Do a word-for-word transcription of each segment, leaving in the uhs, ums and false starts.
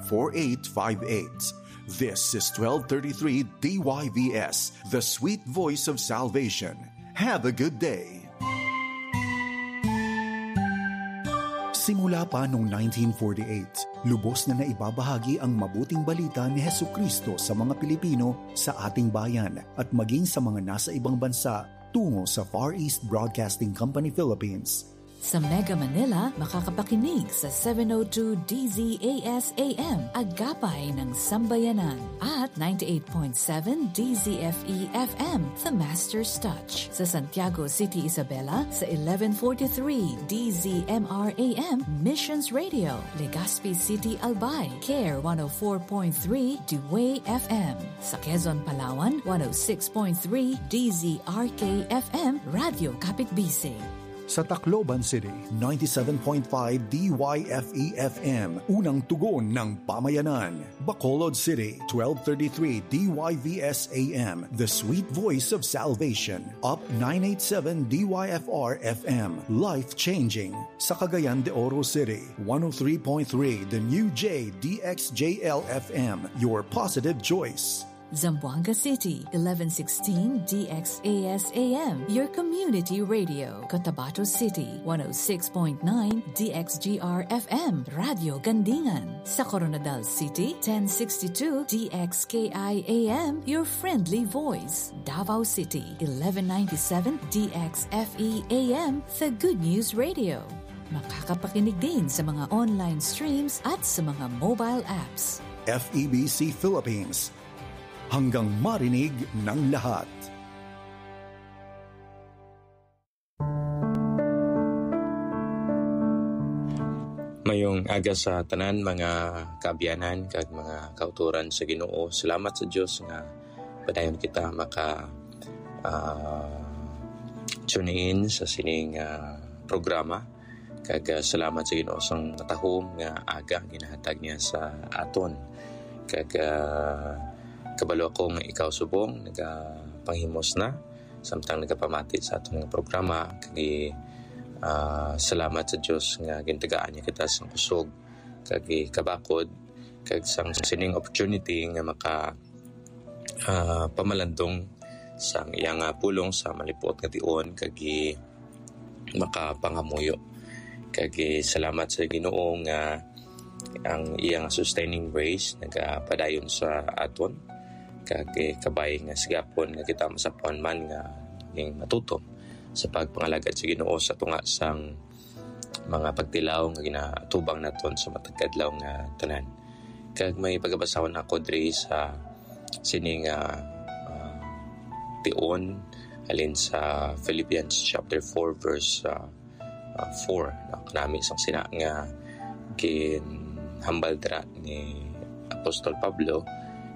four eight five eight. This is twelve thirty-three D Y V S, the sweet voice of salvation. Have a good day. Simula pa noong nineteen forty-eight, lubos na naibabahagi ang mabuting balita ni Jesucristo sa mga Pilipino sa ating bayan at maging sa mga nasa ibang bansa tungo sa Far East Broadcasting Company Philippines. Sa Mega Manila, makakapakinig sa seven oh two D Z A S A M, Agapay ng Sambayanan, at ninety-eight point seven D Z F E F M, The Master's Touch. Sa Santiago City, Isabela, sa eleven forty-three D Z M R A M, Missions Radio. Legazpi City, Albay, Care one oh four point three, The Way F M. Sa Quezon, Palawan, one oh six point three D Z R K F M, Radyo Kapitbisig. Sa Tacloban City, ninety-seven point five D Y F E F M, unang tugon ng pamayanan. Bacolod City, twelve thirty-three D Y V S A M, the sweet voice of salvation. Up nine eight seven D Y F R F M, life-changing. Sa Cagayan de Oro City, one oh three point three The New J D X J L F M, your positive choice. Zamboanga City, eleven sixteen D X A S A M, your community radio. Cotabato City, one oh six point nine D X G R F M, Radyo Gandingan. Sa Koronadal City, ten sixty-two D X K I A M, your friendly voice. Davao City, eleven ninety-seven D X F E A M, the good news radio. Makakapakinig din sa mga online streams at sa mga mobile apps. F E B C Philippines, hanggang marinig ng lahat. Mayong aga sa tanan, mga kaabyanan kag mga kautoran sa Ginoo. Salamat sa Dios nga padayon kita maka, ah, tune in sa sining, ah, programa. Kag, ah, salamat sa Ginoo sang matahom nga aga ginahatag niya sa aton. Kag, ah, kabalo ako nga ikaw subong nagapanghimos na samtang nagapamati sa aton nga programa. Kag, ah, salamat sa Dios nga gintagaan niya kita sang kusog kag kabakod kag sang sining opportunity nga maka, ah, pamalandong sang iya nga pulong sa malipot nga tion kag gi-, makapangamuyo. Kag, eh, salamat sa Ginoo nga ang iya nga sustaining grace nagapadayon sa aton. Kag, eh, kabay nga sigapon nga kita masapuan man nga ning matutom sa pagpangalagad sa Ginoo sa tunga sang mga pagtilaw nga ginaatubang naton sa matag adlaw nga tanan. Kag may pagabasahon ako diri sa sini nga, ah, tion halin sa Philippians chapter four, verse, ah, ah, four. No? Kanami sang sina nga ginhambal dira ni Apostol Pablo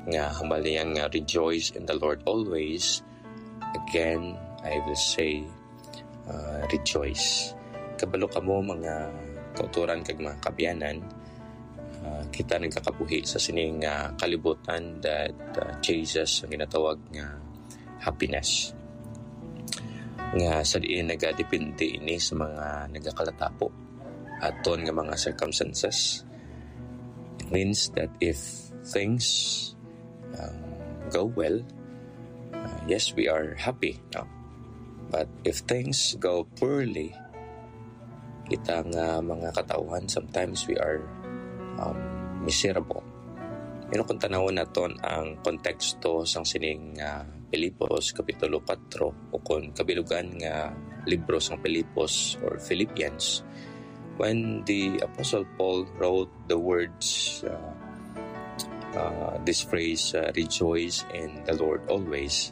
nga hambal niya nga, "Rejoice in the Lord always. Again, I will say, ah, rejoice." Kabalo kamo, mga kautoran kag mga kaabyanan, ah, kita nagakabuhi sa sining, ah, kalibutan that, ah, chases ang ginatawag nga happiness. Nga sa diin nagadepende ini sa mga nagakalatapo aton nga mga circumstances. It means that if things, um, go well, uh, yes, we are happy, no? But if things go poorly, kita nga mga katawhan, sometimes we are, um, miserable. You know, kung tanawon naton ang konteksto sang sining, ah, Filipos, Kapitulo kuwatro, o kung kabilugan nga libro sang Filipos or Philippians, when the Apostle Paul wrote the words, uh, uh, this phrase, uh, "Rejoice in the Lord always,"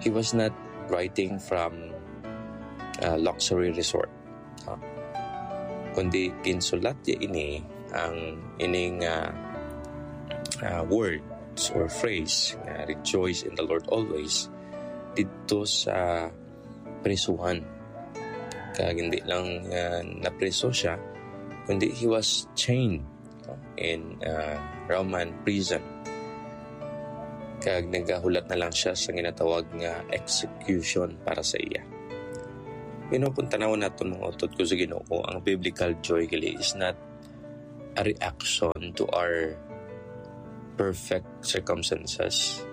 he was not writing from a luxury resort, uh, kundi ginsulat niya ini, ang ining, uh, uh, words or phrase nga, "Rejoice in the Lord always," didto sa prisuhan. Kag hindi lang, uh, napriso siya, kundi he was chained, no, in, uh, Roman prison. Kag nagahulat na lang siya sa ginatawag nga execution para sa iya. You know, kung tanawon naton, mga utod ko sa Ginoo, ang biblical joy gali is not a reaction to our perfect circumstances,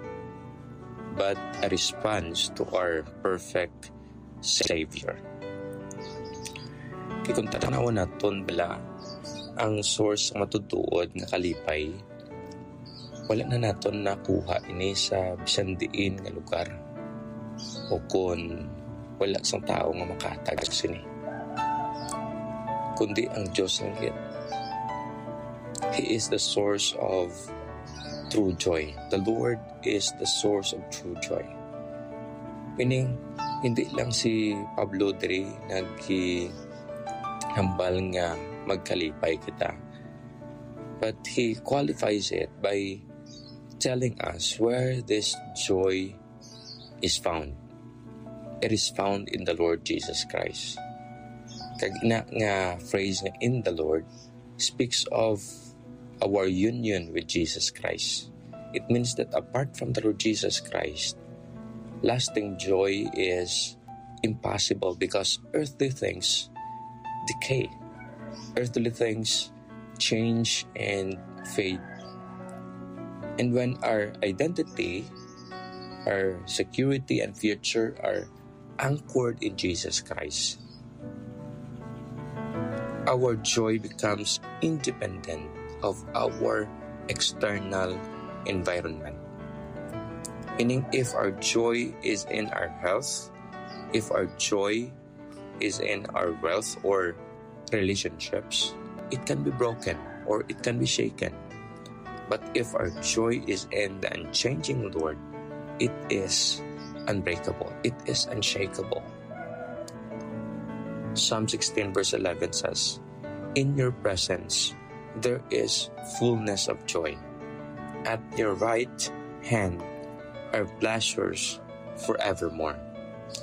but a response to our perfect Savior. Kay kung tanawan naton bala ang source sa matutuod nga kalipay, wala na naton nakuha ini sa bisan diin nga lugar, o kon wala sang tawo nga makahatag sini, kundi ang Dios lang gid. He is the source of true joy. The Lord is the source of true joy. Meaning, hindi lang si Pablo diri naghambal nga magkalipay kita, but he qualifies it by telling us where this joy is found. It is found in the Lord Jesus Christ. Kag ina nga phrase nga "in the Lord" speaks of our union with Jesus Christ. It means that apart from the Lord Jesus Christ, lasting joy is impossible because earthly things decay. Earthly things change and fade. And when our identity, our security, and future are anchored in Jesus Christ, our joy becomes independent of our external environment. Meaning, if our joy is in our health, if our joy is in our wealth or relationships, it can be broken or it can be shaken. But if our joy is in the unchanging Lord, it is unbreakable, it is unshakable. Psalm sixteen verse eleven says, "In your presence there is fullness of joy. At your right hand are pleasures forevermore."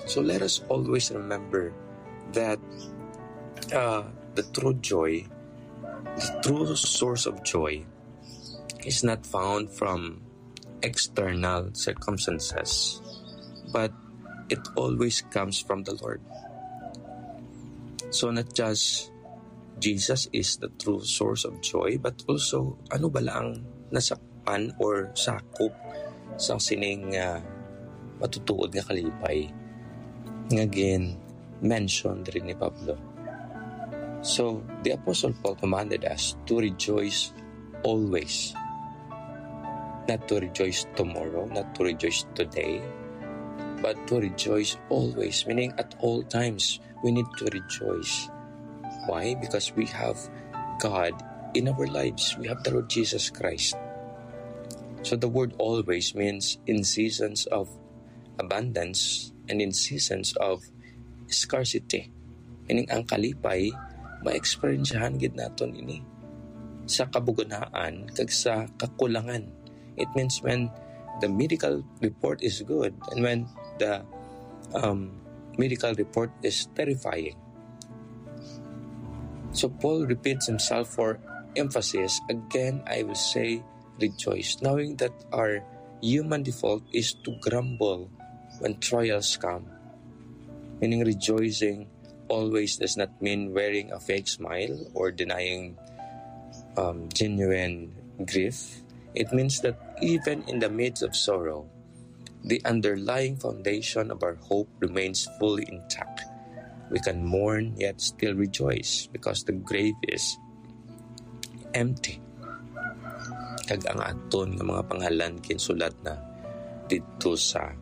So let us always remember that, uh, the true joy, the true source of joy, is not found from external circumstances, but it always comes from the Lord. So not just Jesus is the true source of joy, but also ano bala ang nasakpan or sakop sang sining, ah, matutuod nga kalipay nga gin-mention diri ni Pablo. So, the Apostle Paul commanded us to rejoice always. Not to rejoice tomorrow, not to rejoice today, but to rejoice always, meaning at all times, we need to rejoice. Why? Because we have God in our lives. We have the Lord Jesus Christ. So the word "always" means in seasons of abundance and in seasons of scarcity. Meaning, ang kalipay, ma-experiencehan gid naton ini sa kabuganaan kag sa kakulangan. It means when the medical report is good and when the, um, medical report is terrifying. So Paul repeats himself for emphasis. "Again, I will say, rejoice," knowing that our human default is to grumble when trials come. Meaning, rejoicing always does not mean wearing a fake smile or denying, um, genuine grief. It means that even in the midst of sorrow, the underlying foundation of our hope remains fully intact. We can mourn yet still rejoice because the grave is empty, kag ang aton nga mga pangalan ginsulat na didto sa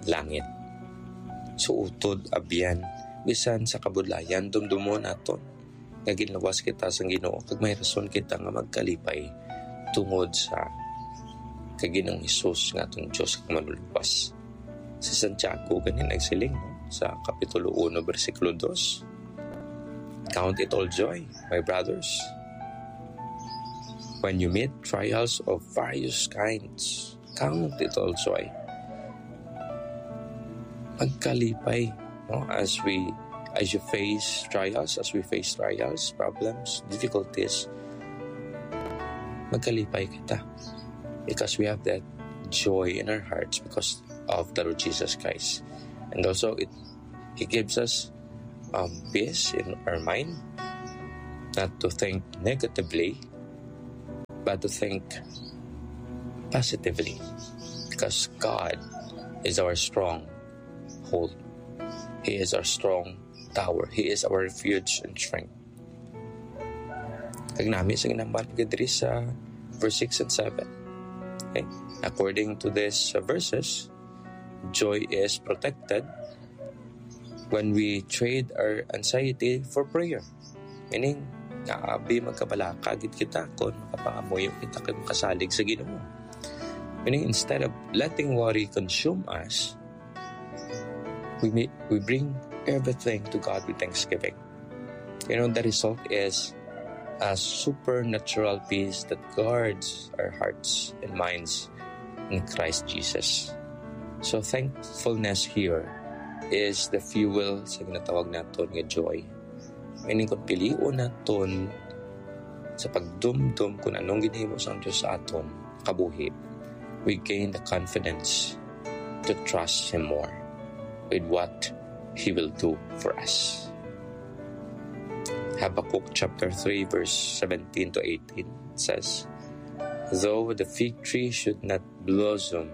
langit. So, utod, abyan, bisan sa kabudlayan, dumdumon naton nga ginluwas kita sang Ginoo, kag may rason kita nga magkalipay tungod sa kay Ginoong Hesus nga aton Dios kag Manluluwas. Si Santiago gani nagsiling, no, sa Kapitulo uno, bersikulo dos, "Count it all joy, my brothers, when you meet trials of various kinds." Count it all joy. Magkalipay, no, as we, as you face trials, as we face trials, problems, difficulties, magkalipay kita because we have that joy in our hearts because of the Lord Jesus Christ. And also, it He gives us, um, peace in our mind, not to think negatively, but to think positively, because God is our stronghold. He is our strong tower. He is our refuge and strength. Kag nami sa ginambal diri sa verse six and seven. Okay? According to these, uh, verses, joy is protected when we trade our anxiety for prayer. Meaning, nga abi magkabalaka gid kita kung makapangamuyo kita kag makasalig sa Ginoo. Meaning, instead of letting worry consume us, we may, we bring everything to God with thanksgiving. You know, the result is a supernatural peace that guards our hearts and minds in Christ Jesus. So, thankfulness here is the fuel sa ginatawag naton nga joy. Meaning, kung pilion naton sa pagdumdom kung anong ginahimo sang Dios sa aton kabuhi, we gain the confidence to trust Him more with what He will do for us. Habakkuk chapter three, verse seventeen to eighteen says, "Though the fig tree should not blossom,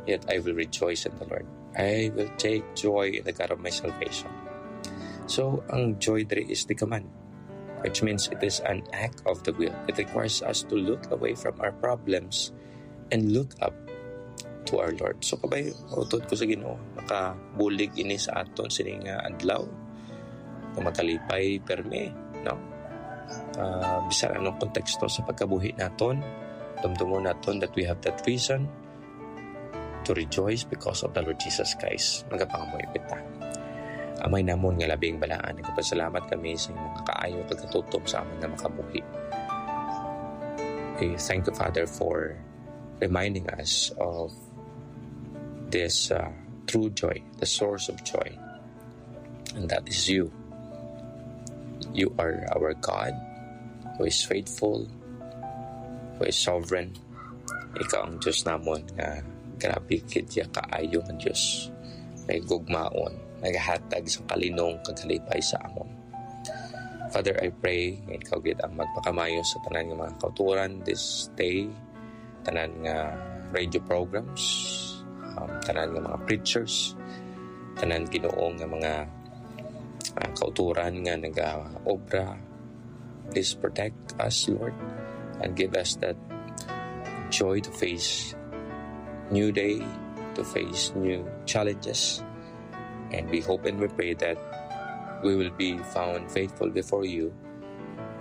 yet I will rejoice in the Lord. I will take joy in the God of my salvation." So, ang joy diri is the command, which means it is an act of the will. It requires us to look away from our problems and look up to our Lord. So, kabay, utod ko sa Ginoo, makabulig ini sa aton sini nga adlaw, nga makalipay permi, no? Ah, bisan anong konteksto sa pagkabuhi naton, dumdumon naton that we have that reason to rejoice because of the Lord Jesus Christ. Magapangamuyo kita. Amay namon nga labing balaan, nagapasalamat kami sa imong kaayo kag katutom sa amon nga makabuhi. Okay, thank you, Father, for reminding us of this, uh, true joy, the source of joy, and that is you. You are our God, who is faithful, who is sovereign. Ikaw ang Dios namon nga grabe gid ya kaayo nga Dios. May gugmaon, nagahatag sa kalinong kag kalipay sa amon. Father, I pray nga ikaw gid ang magpakamayo sa tanan nga mga kauturan this day, tanan nga radio programs, um, tanan nga mga preachers, tanan, Ginoo, nga mga, ah, kauturan nga nagaobra. Please protect us, Lord, and give us that joy to face new day, to face new challenges. And we hope and we pray that we will be found faithful before you,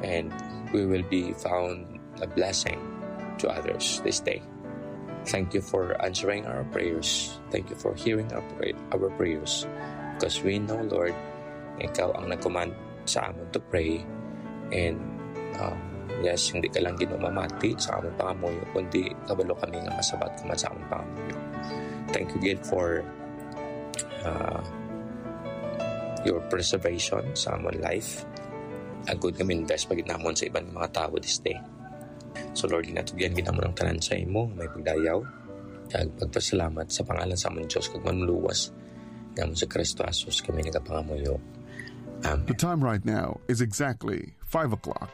and we will be found a blessing to others this day. Thank you for answering our prayers. Thank you for hearing our, pray- our prayers. Because we know, Lord, ikaw ang nag-command sa amon to pray. And, um, yes, hindi ka lang, Ginoo, mamati sa amon pangamuyo, kundi kabalo kami nga masabat ka man sa amon pangamuyo. Thank you, gid, for, uh, your preservation sa amon life. Agud nga ma-invest pa gid namon sa iban nga mga tawo this day. So, Lord, ginatugyan gid namon ang tanan sa imo, may pagdayaw, kag pagpasalamat sa pangalan sa amon Dios kag Manluwas, nga amon si Kristo Jesus kami nagapangamuyo. Amen. The time right now is exactly five o'clock.